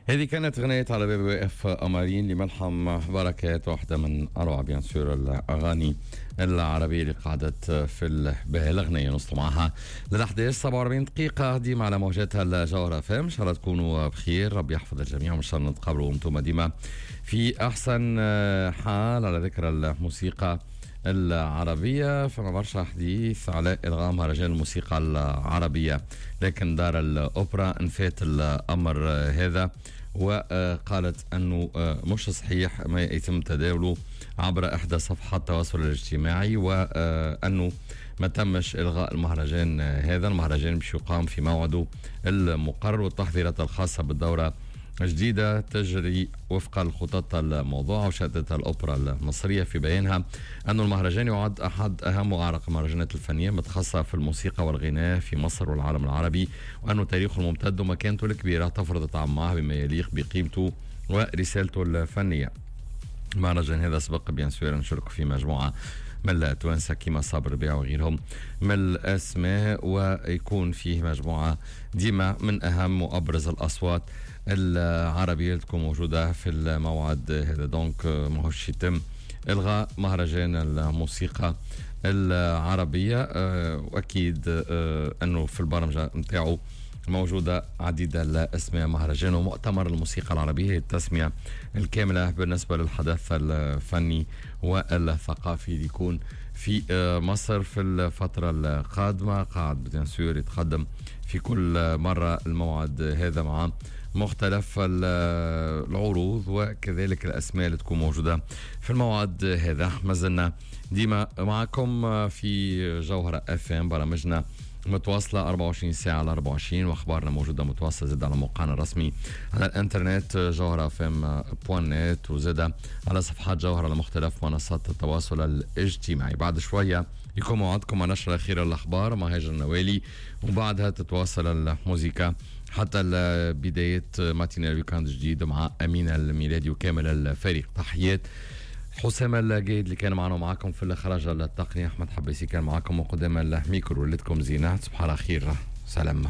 هذه كانت غنية على باب واقف قمرين لملحم بركات، واحدة من أروع bien sûr الأغاني العربية اللي قعدت في البال. الأغنية نوصلوا معها لل 11 47 دقيقة ديما على موجاتها الجوهرة FM. إن شاء الله تكونوا بخير، ربي يحفظ الجميع، وإن شاء الله نتقابلوا وانتم ديما في أحسن حال. على ذكر الموسيقى العربية، فما برشا حديث على إلغاء مهرجان الموسيقى العربية، لكن دار الأوبرا نفات الأمر هذا وقالت أنه مش صحيح ما يتم تداوله عبر إحدى صفحات التواصل الاجتماعي، وأنه ما تمش إلغاء المهرجان هذا. المهرجان باش يقام في موعده المقرر، والتحضيرات الخاصة بالدورة جديدة تجري وفق الخطط الموضوعة. وشددت الأوبرا المصرية في بيانها أن المهرجان يعد أحد أهم وأعرق المهرجانات الفنية متخصصة في الموسيقى والغناء في مصر والعالم العربي، وأنه تاريخه الممتد ومكانته الكبيرة تفرض طعمها بما يليق بقيمته ورسالته الفنية. المهرجان هذا سبق bien sûr نشارك في مجموعة من التوانسة كيما صابر ربيع وغيرهم من الأسماء، ويكون فيه مجموعة ديما من أهم وأبرز الأصوات العربية اللي تكون موجودة في الموعد هذا. donc ماهوش يتم إلغاء مهرجان الموسيقى العربية، وأكيد أنه في البرمجة نتاعو موجودة عديد الأسماء. مهرجان ومؤتمر الموسيقى العربية هي التسمية الكاملة بالنسبة للحدث الفني والثقافي اللي يكون في مصر في الفترة القادمة. قاعد bien sûr يتقدم في كل مرة الموعد هذا مع مختلف العروض وكذلك الأسماء اللي تكون موجودة في الموعد هذا. ما زلنا ديما معكم في جوهرة FM، برامجنا متواصلة 24 ساعة على 24، واخبارنا موجودة متواصلة زاد على موقعنا الرسمي على الانترنت جوهرة FM point net، وزاد على صفحات جوهرة على مختلف منصات التواصل الاجتماعي. بعد شوية يكون موعدكم مع نشرة الأخيرة الأخبار مع هاجر النوالي، وبعدها تتواصل الموزيكا حتى بداية matinale week-end جديد مع أمينة الميلادي وكامل الفريق. تحيات حسام الجيد اللي كان معنا ومعكم في الإخراج التقني، أحمد حبيسي كان معكم وقدام الميكرو. ليلتكم زينة، تصبحوا على خير، سلام.